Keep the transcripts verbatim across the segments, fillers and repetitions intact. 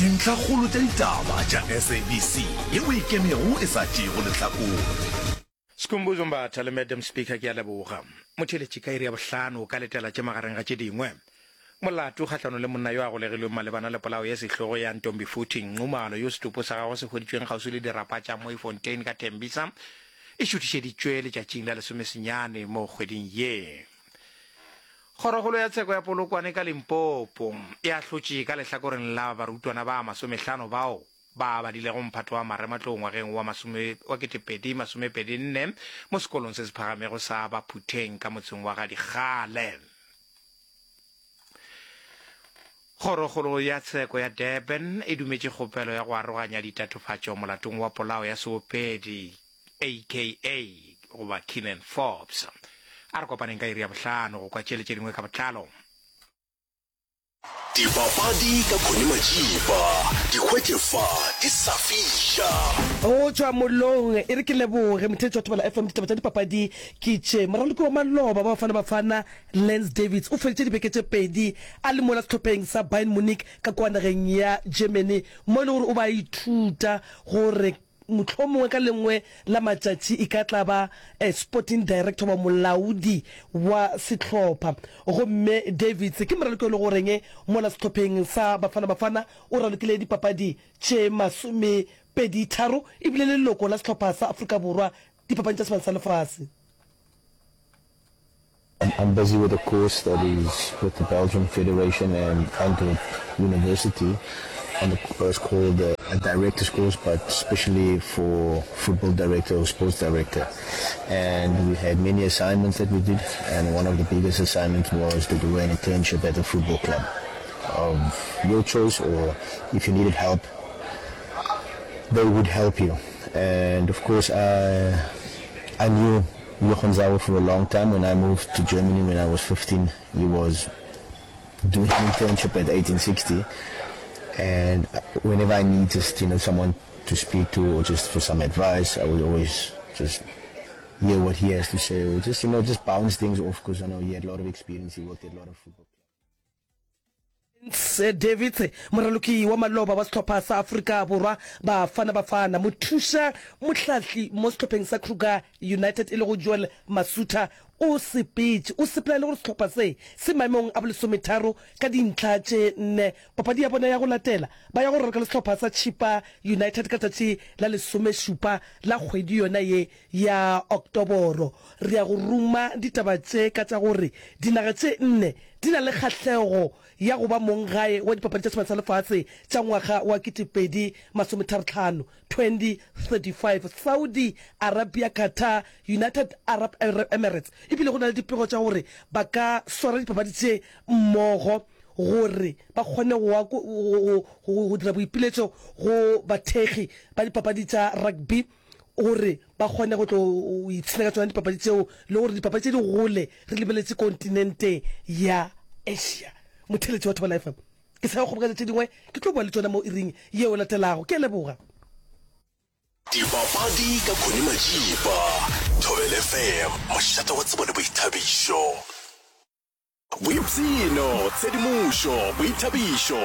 Dintlhakgolo tša ditaba tša S A B C yeo e kemego e sa tšeego lehlakore. Skhumbuzo Mbatha le Madam Speaker, ke a leboga. Motheeletši, ka iri ya bohlano o ka letela tše magareng ga tše dingwe. Molato kgahlanong le monna yo a golegilweng malebana le polao ye sehlogo ya Ntombifuthi Nxumalo yo setopo sa gagwe se hweditšweng kgauswi le dirapa tša Mooifontein ka Tembisa e šuthišeditšwe letšatšing la lesomesenyane mo kgweding ye. Kgorokgolo ya tsheko ya Polokwane ka Limpopo e ahlotše ka lehlakoreng la barutwana ba masomehlano bao ba badilego mphato wa marematlou ngwageng wa masome wa ketepedi masomepedi nne mo sekolong se se phagamego sa Baphutheng ka motseng wa Gadikgale. Kgorokgolo ya tsheko ya Durban e dumetše kgopelo ya go aroganya ditatofatšo molatong wa polao ya seopedi A K A goba Kiernan Forbes. A re kopaneng ka iri ya bohlano go kwa tšele tše dingwe ka botlalo. Dipapadi ka Connie Majiba, di hwetše fa di sa fiša. Go tšwa mollong, e re ke leboge motheetši wa Thobela F M. Ditaba tša dipapadi ke tše. Moraloki wa maloba ba Bafana Bafana Lance Davids o feditše dibeke tše pedi a le mola sehlopheng sa Bayern Munich ka kua nageng ya Germany, mo e le gore o ba a ithuta gore mohlomongwe ka lengwe la matšatši e ka tla ba sporting director goba molaodi wa sehlopha. Gomme Davids ke moraloki o le goreng mola sehlopheng sa Bafana Bafana o ralokile dipapadi tše masomepedi tharo ebile leloko la sehlopha sa Afrika Borwa dipapading tša Sebane sa Lefase. I'm busy with a course that is with the Belgium Federation and Antwerp University on the it's called a director's course, but especially for football director or sports director. And we had many assignments that we did, and one of the biggest assignments was to do an internship at a football club of your choice, or if you needed help, they would help you. And of course, I, I knew Jochen Sauer for a long time. When I moved to Germany when I was fifteen, he was doing an internship at eighteen sixty. And whenever I need just, you know, someone to speak to or just for some advice, I would always just hear what he has to say or just, you know, just bounce things off because I know he had a lot of experience. He worked at a lot of football. Davids, moraloki wa maloba wa sehlopha sa Afrika Borwa Bafana Bafana, mothuša mohlahli mo sehlopheng sa Kruger United e lego Joel Masutha o sepetše. O sepela e le gore sehlopha se se maemong a bolesometharo ka dintlha tše nne. Papadi ya bona ya go latela ba ya go raloka le sehlopha sa Chippa United ka letšatši la lesomešupa la kgwedi yona ye ya Oktoboro. Re ya go ruma ditaba tše ka tša gore dinaga tše nne di na le kgahlego ya go ba monggae wa dipapadi tša Sebane sa Lefase tša ngwaga wa ketepedi masometharotlhano, twenty thirty-five, Saudi Arabia, Qatar, United Arab Emirates, ebile go na le dipego tša gore ba ka swara dipapadi tše mmogo gore ba kgone go go dira boipiletšo go bathekgi ba dipapadi tša rugby gore ba kgone go tlo ipshina ka tšona dipapadi tšeo le gore dipapadi tše di gole re lebeletše kontinente ya Asia. Motheeletši wa Thobela F M, ke sa go kgoboketša tše dingwe, ke tlo boa le tšona mo iring yeo e latelago. Ke a leboga. Dipapadi ka Connie Majiba, Thobela F M, mošate wa tsebo le boithabišo. Boipshino, tshedimošo, boithabišo.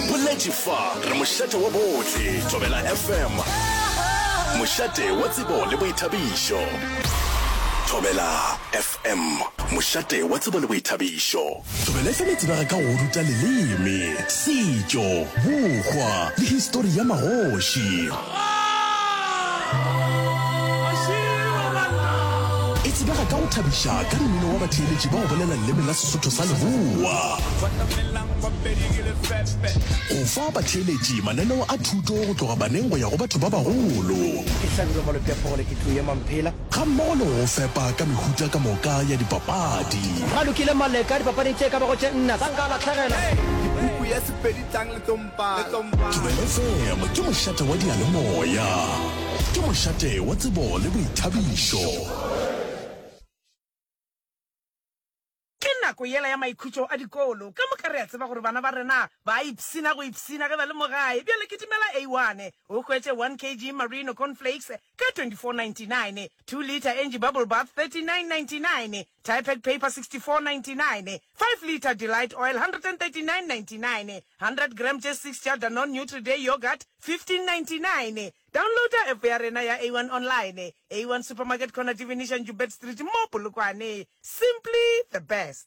Boletše fa re mošate wa bohle, Thobela F M. Mošate wa tsebo le boithabišo. Thobela F M, mošate wa tsebo le boithabišo. Thobela F M e tsebega ka go ruta leleme, setšo, bohwa le histori ya magoši. E tsebega ka go thabiša ka mmino wa batheeletši ba go bolela leleme la Sesotho sa Leboa. Go fa batheeletši mananeo a thuto go tloga baneng go ya go batho ba bagolo. Ke Hlabirwa Malope a Phogole, ke tlo ema Mphela. Ga mmogo le go fepa ka mehuta ka moka ya dipapadi. Ba lokile Maleka dipapading tše ka bago tše nna sa nka lahlegela. Puku ya Sepedi tlang le tlo mpala. Thobela F M ke mošate wa diyalemoya. Ke mošate wa tsebo le boithabišo. Ke nako nako yela ya maikhutšo a dikolo. Ka moka re a tseba gore bana ba rena ba a ipshina go ipshina ge ba le mo gae. Bjale kitimela A one o hwetše one kg Marino cornflakes ka twenty-four ninety-nine, two litre Angie bubble bath thirty-nine ninety-nine, Typed paper sixty-four ninety-nine, five litre Delight oil hundred and thirty-nine ninety-nine, hundred gram tše six tša Danone Nutri-Day yoghurt fifteen ninety-nine. Downloada app ya rena ya A one online, A one Supermarket corner Divination Joubert Street mo Polokwane. Simply the best.